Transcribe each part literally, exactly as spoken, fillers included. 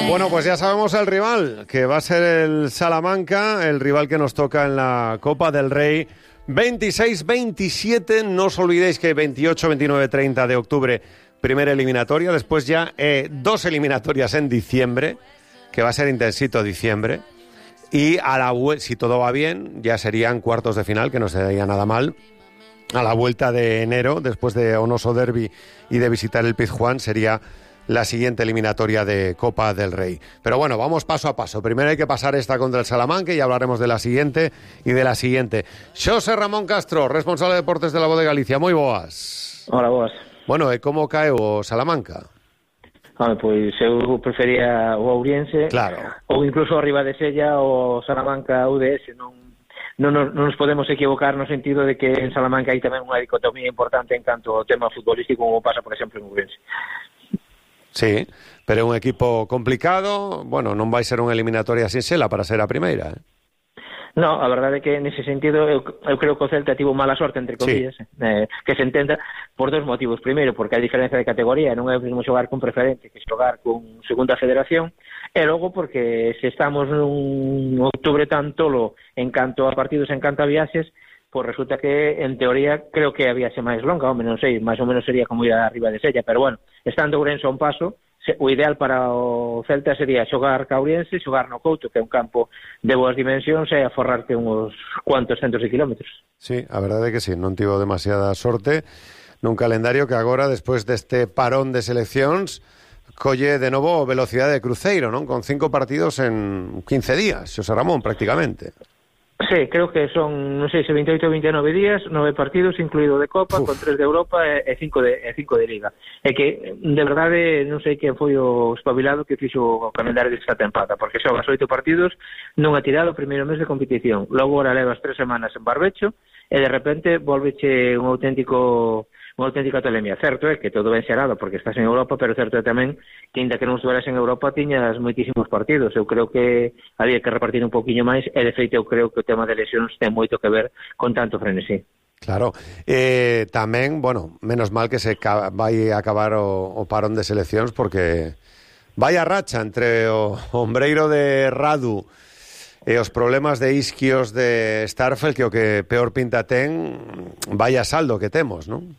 Bueno, pues ya sabemos el rival, que va a ser el Salamanca, el rival que nos toca en la Copa del Rey. veintiséis veintisiete, no os olvidéis que veintiocho, veintinueve, treinta de octubre, primera eliminatoria, después ya eh, dos eliminatorias en diciembre, que va a ser intensito diciembre, y a la si todo va bien, ya serían cuartos de final, que no sería nada mal. A la vuelta de enero, después de Onoso Derby y de visitar el Pizjuán, sería la siguiente eliminatoria de Copa del Rey. Pero bueno, vamos paso a paso. Primero hay que pasar esta contra el Salamanca y hablaremos de la siguiente y de la siguiente. Xosé Ramón Castro, responsable de deportes de La Voz de Galicia. Moi boas. Hola, boas. Bueno, e como cae o Salamanca? Ah, pois eu prefería o Ourense, claro, ou incluso arriba de Sella o Salamanca U D S. Non, non, non nos podemos equivocar no sentido de que en Salamanca hai tamén unha dicotomía importante en canto ao tema futbolístico, como pasa, por exemplo, en Ourense. Sí, pero é un equipo complicado. Bueno, non vai ser unha eliminatoria sin sela para ser a primeira, eh? No, a verdade é que nese sentido eu, eu creo que o Celta tivo mala sorte, entre comillas, sí. eh, que se entenda por dos motivos. Primeiro, porque a diferencia de categoría non é o mesmo xogar con preferente que xogar con segunda federación, e logo porque se estamos nun outubro tan tolo en canto a partidos, en canto a viaxes, pois resulta que, en teoría, creo que a viaxe máis longa, home, non sei, máis ou menos sería como ir arriba de Sella, pero bueno, estando Ourense a un paso, o ideal para o Celta sería xogar ca Ourense, xogar no Couto, que é un campo de boas dimensións, e aforrarte uns cuantos centos de kilómetros. Sí, a verdade é que sí, non tivo demasiada sorte nun calendario que agora, despois deste parón de seleccións, colle de novo velocidade de cruceiro, non? Con cinco partidos en quince días, Xosé Ramón, prácticamente. Sí, creo que son, non sei se veintioito ou veintinueve días, nove partidos, incluído de Copa, Uf. con tres de Europa e cinco de, e cinco de Liga. É que, de verdade, non sei quen foi o espabilado que fixo o calendario desta tempada, porque xogas oito partidos non ha tirado o primeiro mes de competición. Logo, ora levas tres semanas en barbecho e, de repente, volveche un auténtico... unha auténtica tolemia. Certo é que todo ben xerado porque estás en Europa, pero certo é tamén que, ainda que non estuveras en Europa, tiñas moitísimos partidos. Eu creo que había que repartir un poquinho máis, e de feito eu creo que o tema de lesións ten moito que ver con tanto frenesí. Claro, eh, tamén, bueno, menos mal que se ca- vai acabar o, o parón de seleccións, porque vai a racha entre o ombreiro de Radu e os problemas de isquios de Starfelt, que o que peor pinta ten, vai a saldo que temos, non?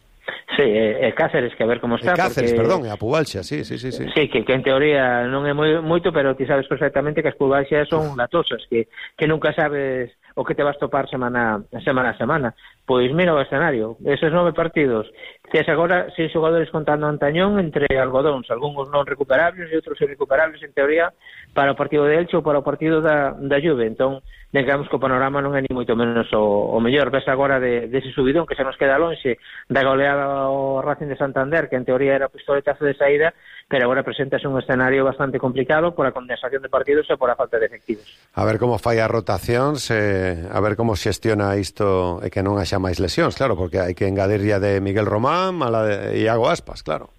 Sí, e Cáceres, que a ver como está. E Cáceres, porque... perdón, e a Pubalxa, sí, sí, sí, sí. Sí, que, que en teoría non é moi, moito, pero ti sabes perfectamente que as Pubalxas son latosas, que, que nunca sabes o que te vas topar semana, semana a semana. Pois mira o escenario, esos nove partidos, tes agora seis xogadores contando antañón entre algodóns, algúns non recuperables e outros irrecuperables, en teoría, para o partido de Elche ou para o partido da, da Juve. Entón, digamos que o panorama non é ni moito menos o, o mellor. Ves agora de, dese subidón que se nos queda lonxe da goleada ao Racing de Santander, que en teoría era o pistoletazo de saída, pero agora presentase un escenario bastante complicado por a condensación de partidos e por a falta de efectivos. A ver como fai a rotación, se, a ver como xestiona isto e que non haxa máis lesións, claro, porque hai que engadir ya de Miguel Román a la de Iago Aspas, claro.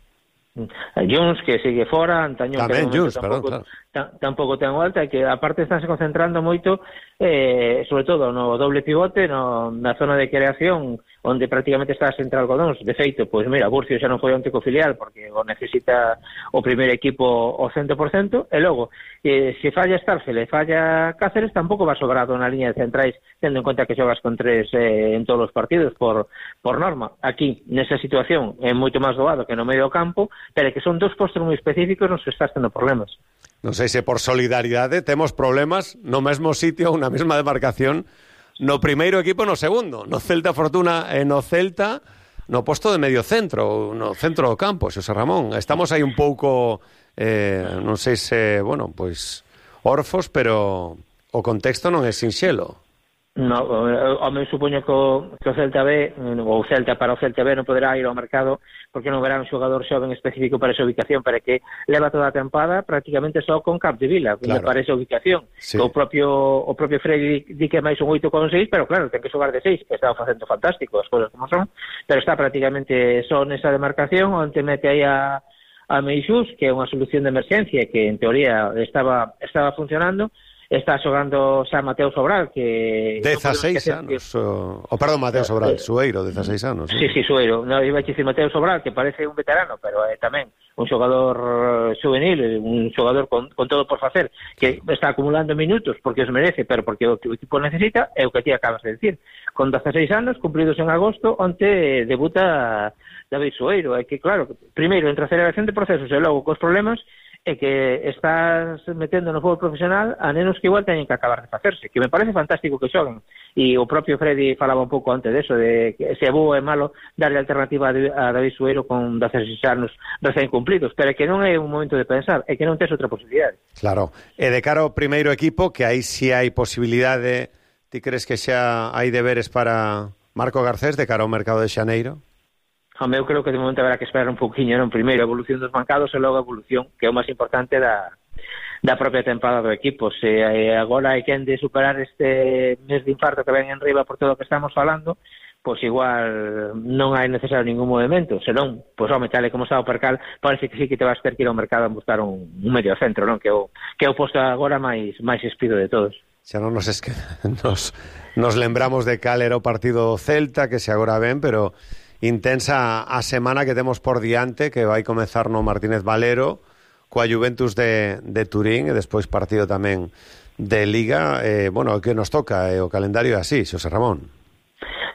Jones, que sigue fora, Antañón, tamén que Jones, tampouco, perdón, claro. tampouco ten volta, e que aparte estánse concentrando moito, eh, sobre todo no doble pivote, no, na zona de creación, onde prácticamente está a central Algodóns. De feito, pois mira, Burcio xa non foi onte co filial, porque o necesita o primeiro equipo ao cento por cento, e logo, eh, se falla Starfel e falla Cáceres, tampouco va sobrado na liña de centrais, tendo en conta que xogas con tres eh, en todos os partidos, por, por norma. Aquí, nesa situación, é moito máis doado que no medio do campo, pero que son dos postos moi específicos nos que estás tendo problemas. Non sei se por solidaridade temos problemas no mesmo sitio, unha mesma demarcación, no primeiro equipo no segundo, no Celta Fortuna e no Celta no posto de medio centro, no centro do campo, Xosé Ramón. Estamos aí un pouco, eh, non sei se, bueno, pois, orfos, pero o contexto non é sinxelo. No, o me supoño que o, que o Celta B, ou Celta para o Celta B non poderá ir ao mercado porque non verá un xogador xoven específico para esa ubicación, para que leva toda a tempada prácticamente só con Capdevila, claro, para esa ubicación. Sí. O propio o propio Freddy di que máis un oito con seis, pero claro, ten que xogar de seis, que estaba facendo fantástico, as cousas como son, pero está prácticamente só nesa demarcación, onde mete aí a a Meixús, que é unha solución de emerxencia que en teoría estaba estaba funcionando, está xogando xa Mateo Sobral, que... dezaseis anos, que... o, o perdón, Mateo Sobral, Sueiro, dezaseis anos. Sí, sí, sí Sueiro. No, iba a dicir Mateo Sobral, que parece un veterano, pero é eh, tamén un xogador juvenil, un xogador con, con todo por facer, que está acumulando minutos porque os merece, pero porque o, o equipo necesita, é o que ti acabas de decir. Con dezaseis anos, cumpridos en agosto, onte debuta David Sueiro. É que, claro, primeiro, entre a aceleración de procesos e logo cos problemas, é que estás metendo no fútbol profesional a nenos que igual teñen que acabar de facerse, que me parece fantástico que xoguen, e o propio Freddy falaba un pouco antes deso, de que se é bo é malo darle alternativa a David Sueiro con dezaseis anos recén cumplidos, pero é que non é un momento de pensar, é que non tes outra posibilidade. Claro, e de cara ao primeiro equipo, que aí si hai posibilidade, ti crees que xa hai deberes para Marco Garcés de cara ao mercado de xaneiro? Home, eu creo que de momento haberá que esperar un pouquiño, non? Primeiro a evolución dos mercados e logo a evolución, que é o máis importante da, da propia tempada do equipo. Se eh, agora hai quen de superar este mes de infarto que ven en riba por todo o que estamos falando, pois igual non hai necesario ningún movimento, senón, pois home, tal e como está o percal, parece que sí que te vas ter que ir ao mercado a buscar un, un medio centro, non? Que é o, que é o posto agora máis máis espido de todos. Xa non nos, es que nos, nos lembramos de cal era o partido Celta, que se agora ven, pero intensa a semana que temos por diante, que vai comezar no Martínez Valero coa Juventus de, de Turín e despois partido tamén de Liga. Eh, bueno, o que nos toca é eh, o calendario así, Xosé Ramón.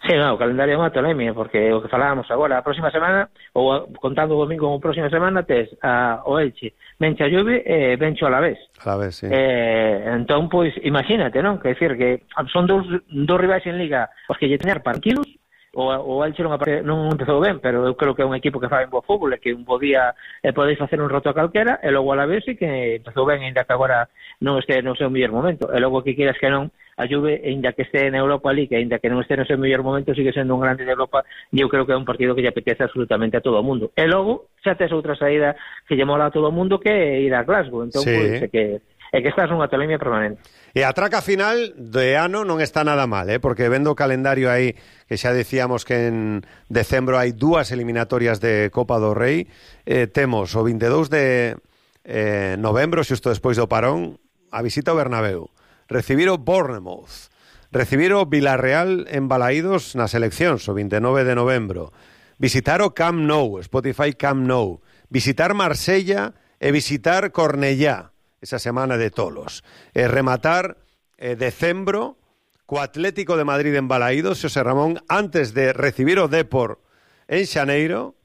Sí, no, o calendario é unha tolemia, porque o que falábamos agora, a próxima semana, ou contando o domingo como próxima semana, tes a, o Elche, venche a Juve e venche a Alavés. Alavés, sí. Eh, entón, pois, imagínate, non? Que decir que son dous, dous rivais en Liga os que lle teñar partidos. O, o Elche non, non empezou ben, pero eu creo que é un equipo que fai un bo fútbol e que un bo día eh, podeis facer un roto a calquera, e logo a la vez e que empezou ben, ainda que agora non este no seu mellor momento, e logo que quieras que non, a Juve, ainda que este na Europa League, ainda que non este no seu mellor momento, sigue sendo un grande de Europa, e eu creo que é un partido que lle apetece absolutamente a todo o mundo. E logo xa tes outra saída que lle mola a todo o mundo, que é ir a Glasgow, entón sí. Pois, é que é que estás nunha tolemia permanente. E a traca final de ano non está nada mal, eh? Porque vendo o calendario aí, que xa decíamos que en decembro hai dúas eliminatorias de Copa do Rei, eh, temos o veintidós de eh, novembro, xusto despois do parón, a visita ao Bernabéu, recibir o Bournemouth, recibir o Villarreal en Balaídos nas eleccións, o veintinueve de novembro, visitar o Camp Nou, Spotify Camp Nou, visitar Marsella e visitar Cornellá, esa semana de tolos. E rematar eh, decembro co Atlético de Madrid en Balaídos, Xosé Ramón, antes de recibir o Depor en Xaneiro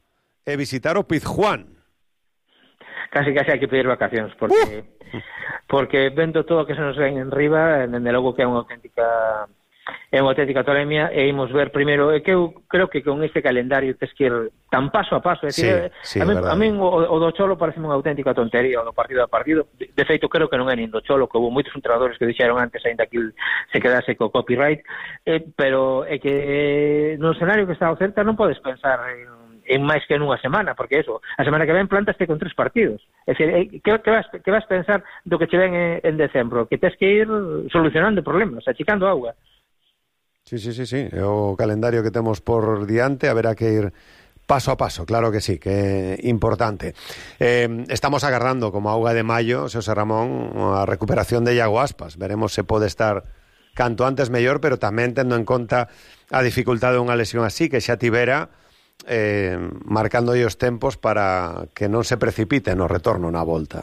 e visitar o Pizjuán. Casi casi hai que pedir vacacións, porque uh! porque vendo todo o que se nos ven en riba, dende logo que é unha auténtica é unha auténtica tolemia, e imos ver primeiro, é que eu creo que con este calendario tes que ir tan paso a paso, é dicir, sí, sí, a, mí, a mí o, o do Cholo parece unha auténtica tontería, o do partido a partido, de, de feito creo que non é nin do Cholo, que houve moitos entrenadores que dixeron antes ainda que se quedase co copyright, eh, pero é que eh, no escenario que está o Celta non podes pensar en, en máis que nunha semana, porque eso, a semana que ven plantaste con tres partidos, é dicir, eh, que, que, vas, que vas pensar do que che ven en, en decembro, que tes que ir solucionando problemas, achicando agua. Sí, sí, sí, sí, é o calendario que temos por diante, haberá que ir paso a paso, claro que sí, que é importante. Eh, estamos agarrando como auga de maio, Xosé Ramón, a recuperación de Iago Aspas, veremos se pode estar canto antes mellor, pero tamén tendo en conta a dificultade de unha lesión así, que xa tivera, eh, marcando os tempos para que non se precipite no retorno na volta.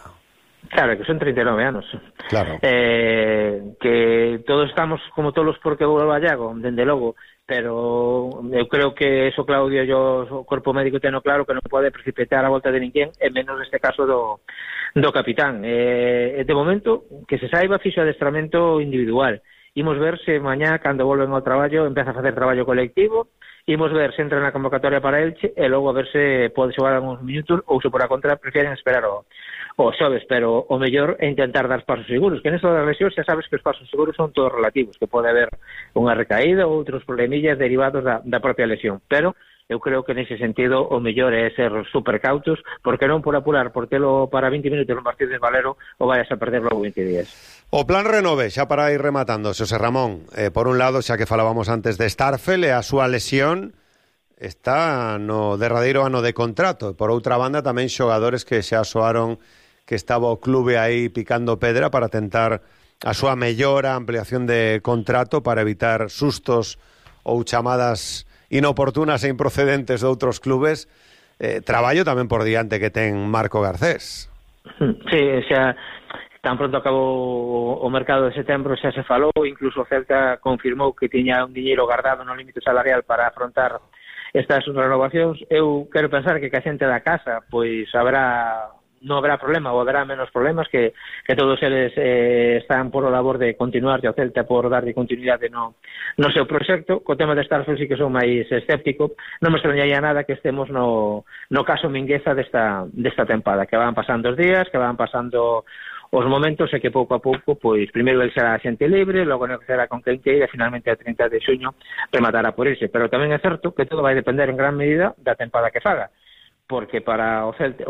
Claro, que son treinta e nove anos. Claro. Eh, que todos estamos como todos porque volva Iago, dende logo, pero eu creo que eso Claudio e o corpo médico teno claro que non pode precipitar a volta de ninguén, e menos neste caso do, do capitán. Eh, de momento, que se saiba, fixo adestramento individual. Imos ver se mañá, cando volven ao traballo, empeza a facer traballo colectivo. Imos ver se entra na convocatoria para Elche e logo a ver se pode xogar algúns minutos, ou se por a contra prefieren esperar o o xoves, pero o mellor é intentar dar pasos seguros, que neso das lesións xa sabes que os pasos seguros son todos relativos, que pode haber unha recaída ou outros problemillas derivados da, da propia lesión, pero eu creo que nese sentido o mellor é ser super cautos, porque non por apurar, por telo para vinte minutos no Martínez Valero o vayas a perder logo vinte días. O plan renove, xa para ir rematando, Xosé Ramón, eh, por un lado, xa que falábamos antes de Starfel e a súa lesión, está no derradeiro ano de contrato, e por outra banda tamén xogadores que xa soaron que estaba o clube aí picando pedra para tentar a súa mellora, ampliación de contrato para evitar sustos ou chamadas inoportunas e improcedentes de outros clubes. Eh, traballo tamén por diante que ten Marco Garcés. Sí, xa tan pronto acabou o mercado de setembro xa se falou, incluso o Celta confirmou que tiña un diñeiro guardado no límite salarial para afrontar estas renovacións. Eu quero pensar que que a xente da casa pois habrá non habrá problema ou habrá menos problemas, que, que todos eles eh, están por o labor de continuar e o Celta por darlle continuidade no, no seu proxecto. Co tema de Starfield sí que son máis escéptico, non me extrañaría nada que estemos no, no caso Mingueza desta, desta tempada, que van pasando os días, que van pasando os momentos e que pouco a pouco, pois primeiro el será xente libre, logo negociará con quen queira e finalmente a trinta de xuño rematará por irse. Pero tamén é certo que todo vai depender en gran medida da tempada que faga, porque para o Celta